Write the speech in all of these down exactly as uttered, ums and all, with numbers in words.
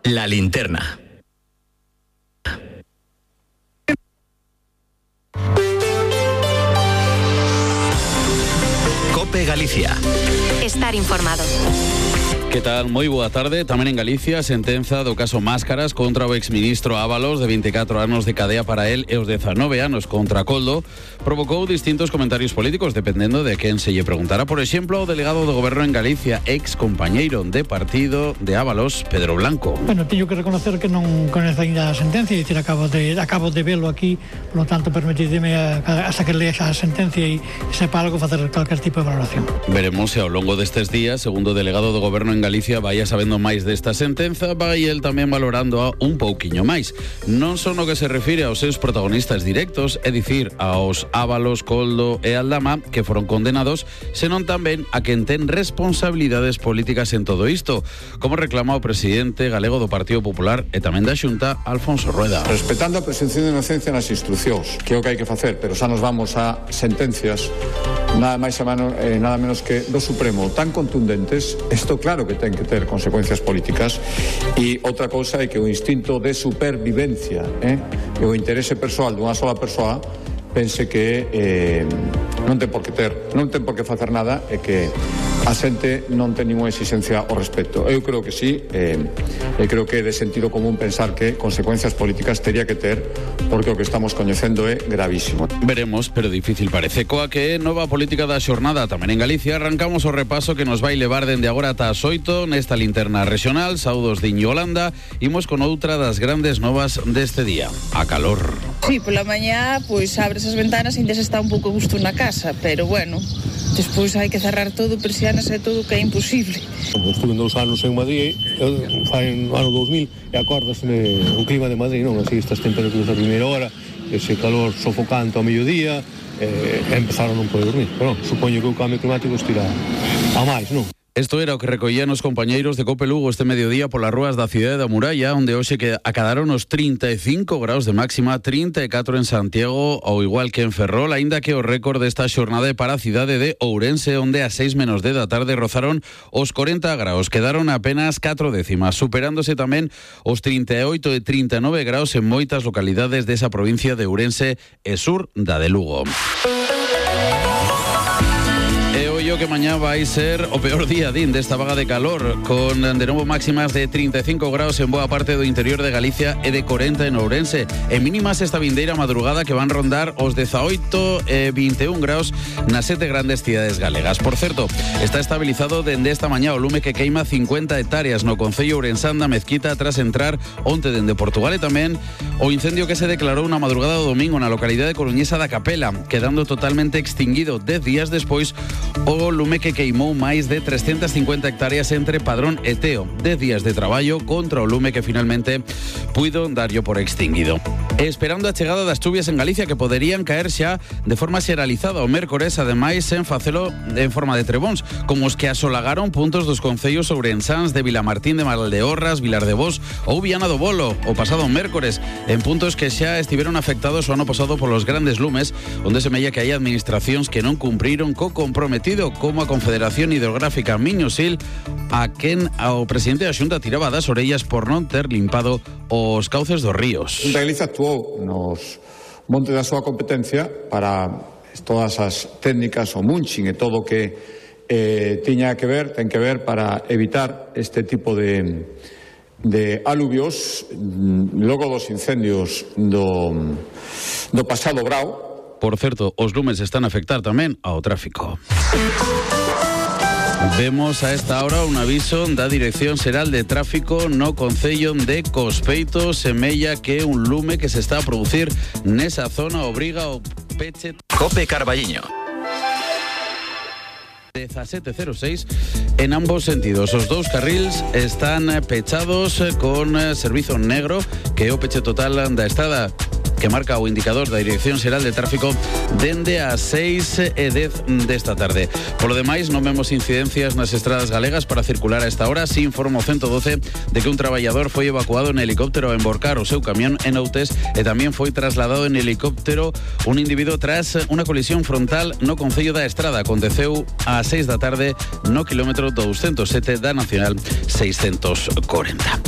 La linterna. COPE Galicia. Estar informado. Que tal? Moi boa tarde. Tamén en Galicia, sentenza do caso Máscaras contra o exministro Ábalos, de veinticuatro anos de cadea para él e os dezanove anos contra Coldo, provocou distintos comentarios políticos dependendo de quen se lle preguntara. Por exemplo, o delegado do goberno en Galicia, ex compañeiro de partido de Ábalos, Pedro Blanco. Bueno, teño que reconocer que non coñezo ainda a sentencia, dicir, acabo de acabo de velo aquí, por lo tanto, permitideme hasta que lea esa sentencia e sepa algo facer calquer tipo de valoración. Veremos se ao longo destes días, segundo o delegado do goberno en Galicia, vaya sabendo máis desta sentenza, vai el tamén valorando a un pouquiño máis. Non só no que se refire aos seus protagonistas directos, é dicir, aos Ábalos, Coldo e Aldama, que foron condenados, senón tamén a quen ten responsabilidades políticas en todo isto, como reclama o presidente galego do Partido Popular e tamén da Xunta, Alfonso Rueda. Respetando a presunción de inocencia nas instruccións, que é o que hai que facer, pero xa nos vamos a sentencias nada máis e mano, eh, nada menos que do Supremo tan contundentes, isto claro que ten que ter consecuencias políticas, e outra cousa é que o instinto de supervivencia eh, e o interese persoal dunha sola persoa pense que eh, non ten por que ter, non ten por que facer nada e que a xente non ten ninguna exigencia ao respecto. Eu creo que sí, eh, e creo que é de sentido común pensar que consecuencias políticas teria que ter, porque o que estamos coñecendo é gravísimo. Veremos, pero difícil parece. Coa que nova política da xornada tamén en Galicia, arrancamos o repaso que nos vai levar dende agora ata as oito nesta linterna regional. Saudos de Iñolanda, imos con outra das grandes novas deste día, a calor. Sí, pola mañá, pois abres as ventanas e ainda se está un pouco gusto na casa, pero bueno, despois hai que cerrar todo, persianas e todo, que é imposible. Estuve dous anos en Madrid, fai no ano dos mil, e acordasme o clima de Madrid, non? Así estas temperaturas a primeira hora, ese calor sofocante ao mediodía, e empezaron a non poder dormir. Pero non, supoño que o cambio climático estira a máis, non? Isto era o que recollían os compañeiros de COPE Lugo este mediodía polas rúas da cidade da Muralla, onde hoxe que acadaron os trinta e cinco graus de máxima, trinta e catro en Santiago, ou igual que en Ferrol, aínda que o récord desta xornada é para a cidade de Ourense, onde a seis menos de da tarde rozaron os corenta graus, quedaron apenas catro décimas, superándose tamén os trinta e oito e trinta e nove graus en moitas localidades desa provincia de Ourense e sur da de Lugo. Que mañá vai ser o peor día din desta vaga de calor, con de novo máximas de trinta e cinco graus en boa parte do interior de Galicia e de corenta en Ourense, e mínimas esta vindeira madrugada que van rondar os dezaoito e vinte e un graus nas sete grandes cidades galegas. Por certo, está estabilizado dende esta mañá o lume que queima cincuenta hectáreas no concello ourensán da Mezquita tras entrar onte dende Portugal, e tamén o incendio que se declarou na madrugada do domingo na localidade coruñesa da Capela, quedando totalmente extinguido dez días despois o lume que queimou máis de trescentas cincuenta hectáreas entre Padrón e Teo. dez días de traballo contra o lume que finalmente puido darlle por extinguido. E esperando a chegada das chuvias en Galicia, que poderían caer xa de forma xeralizada o mércores, ademais en facelo en forma de trebóns, como os que asolagaron puntos dos concellos ourensáns de Vilamartín de Valdeorras, Vilar de Vos ou Viana do Bolo o pasado mércores, en puntos que xa estiveron afectados o ano pasado polos grandes lumes, onde se mella que hai administracións que non cumpriron co comprometido, como a Confederación Hidrográfica Miño-Sil, a quen ao presidente da Xunta tiraba das orellas por non ter limpado os cauces dos ríos. A Galicia actuou nos montes da súa competencia para todas as técnicas, o munching e todo o que eh, tiña que ver, ten que ver para evitar este tipo de, de aluvios logo dos incendios do, do pasado brao. Por certo, os lumes están a afectar tamén ao tráfico. Vemos a esta hora un aviso da Dirección Xeral de Tráfico no concello de Cospeito, semella que un lume que se está a producir nesa zona obriga ao peche. COPE Carballiño. dezasete cero seis en ambos sentidos. Os dous carrils están pechados con servizo negro, que é o peche total da estrada que marca o indicador da Dirección Xeral de Tráfico dende as seis e dez desta tarde. Polo demais, non vemos incidencias nas estradas galegas para circular a esta hora. Si informa o ciento doce de que un traballador foi evacuado en helicóptero a emborcar o seu camión en Outes e tamén foi trasladado en helicóptero un individuo tras unha colisión frontal no Concello da Estrada. Aconteceu ás seis da tarde no quilómetro doscientos sete da Nacional seiscientos corenta.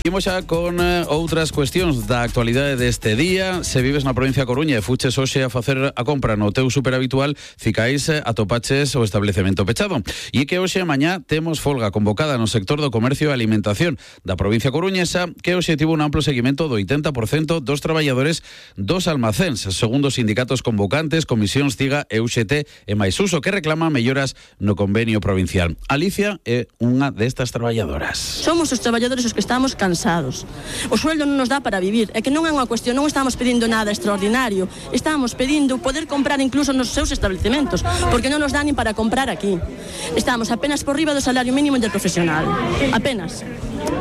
Imos xa con eh, outras cuestións da actualidade deste día. Se vives na provincia da Coruña e fuches hoxe a facer a compra no teu super habitual, ficáis eh, atopaches o establecemento pechado. E que hoxe e mañá temos folga convocada no sector do comercio e alimentación da provincia coruñesa, que hoxe tivo un amplo seguimento do oitenta por cento dos traballadores dos almacéns, segundo os sindicatos convocantes, Comisións CIGA e U X T e máis uso, que reclama melloras no convenio provincial. Alicia é unha destas traballadoras. Somos os traballadores os que estamos cansados. O sueldo non nos dá para vivir. É que non é unha cuestión, non estamos pedindo nada extraordinario. Estamos pedindo poder comprar incluso nos seus establecementos, porque non nos dá nin para comprar aquí. Estamos apenas por riba do salario mínimo interprofesional. Apenas.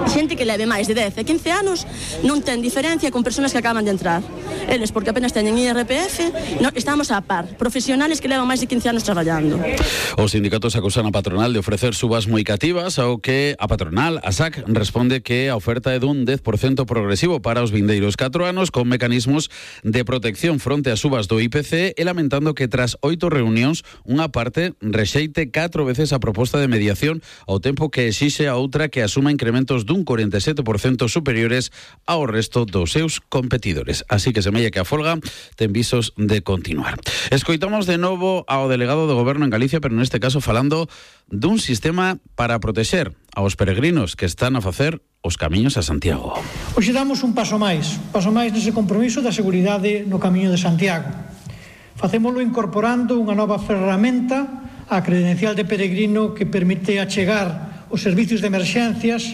Xente que leve máis de dez e quince anos non ten diferencia con persoas que acaban de entrar. Eles, porque apenas teñen I R P F, no, estamos a par. Profesionales que levan máis de quince anos traballando. Os sindicatos acusan a patronal de ofrecer subas moi cativas, ao que a patronal, a S A C, responde que a oferta é dun dez por cento progresivo para os vindeiros catro anos, con mecanismos de protección fronte ás subas do I P C, e lamentando que tras oito reunións unha parte rexeite catro veces a proposta de mediación, ao tempo que exixe a outra que asuma incrementos dun corenta e sete por cento superiores ao resto dos seus competidores. Así que semella que a folga ten visos de continuar. Escoitamos de novo ao delegado do Goberno en Galicia, pero neste caso falando dun sistema para protexer aos peregrinos que están a facer os camiños a Santiago. Hoxe damos un paso máis, paso máis nese compromiso da seguridade no camiño de Santiago. Facémolo incorporando unha nova ferramenta á credencial de peregrino que permite achegar os servicios de emerxencias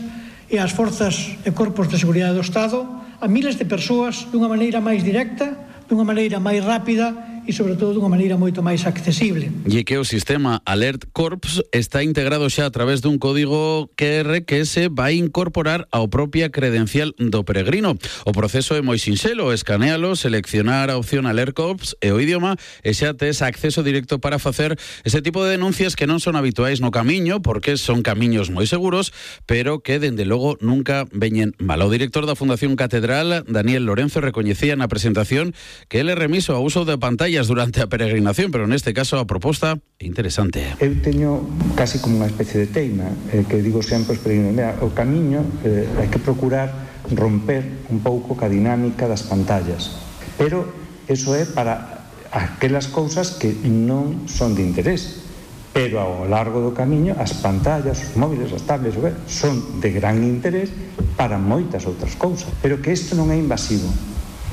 e as forzas e corpos de seguridade do Estado a miles de persoas dunha maneira máis directa, dunha maneira máis rápida e, sobre todo, dunha maneira moito máis accesible. E que o sistema Alert Corps está integrado xa a través dun código Q R que se vai incorporar ao propia credencial do peregrino. O proceso é moi sinxelo, escanealo, seleccionar a opción Alert Corps e o idioma, e xa tes acceso directo para facer ese tipo de denuncias que non son habituais no camiño, porque son camiños moi seguros, pero que, dende logo, nunca veñen mal. O director da Fundación Catedral, Daniel Lorenzo, recoñecía na presentación que ele é remiso ao uso de pantallas durante a peregrinación, pero neste caso a proposta é interesante. Eu teño casi como unha especie de teima, eh, que digo sempre aos peregrinos, mira, o camiño eh, hai que procurar romper un pouco ca dinámica das pantallas, pero eso é para aquelas cousas que non son de interés, pero ao largo do camiño as pantallas, os móviles, as tablets, son de gran interés para moitas outras cousas, pero que isto non é invasivo,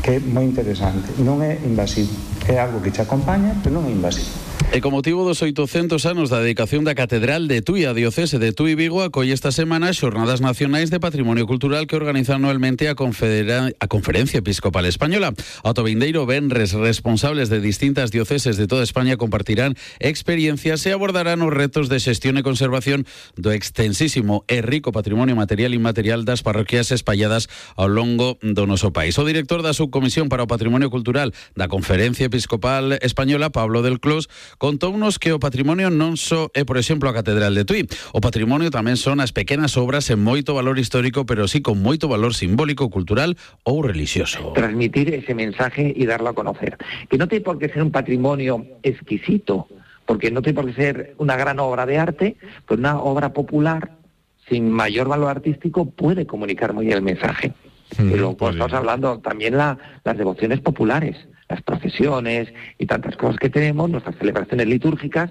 que é moi interesante, non é invasivo, é algo que te acompaña, pero non é invasivo. E con motivo dos oitocentos anos da dedicación da Catedral de Tui, a Diocese de Tui Vigo acolle esta semana Xornadas Nacionais de Patrimonio Cultural que organiza anualmente a, Confedera... a Conferencia Episcopal Española. Ata o vindeiro venres, responsables de distintas dioceses de toda España compartirán experiencias e abordarán os retos de xestión e conservación do extensísimo e rico patrimonio material e inmaterial das parroquias espalladas ao longo do noso país. O director da Subcomisión para o Patrimonio Cultural da Conferencia Episcopal Española, Pablo del Clos, contounos que o patrimonio non só é, por exemplo, a Catedral de Tui. O patrimonio tamén son as pequenas obras en moito valor histórico, pero sí con moito valor simbólico, cultural ou religioso. Transmitir ese mensaje y darlo a conocer. Que no tiene por qué ser un patrimonio exquisito, porque no tiene por qué ser una gran obra de arte, pues una obra popular sin mayor valor artístico puede comunicar muy bien el mensaje. Mm, y luego pues, estamos hablando también la, las devociones populares, las procesiones y tantas cosas que tenemos, nuestras celebraciones litúrgicas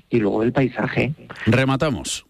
y luego el paisaje. Rematamos.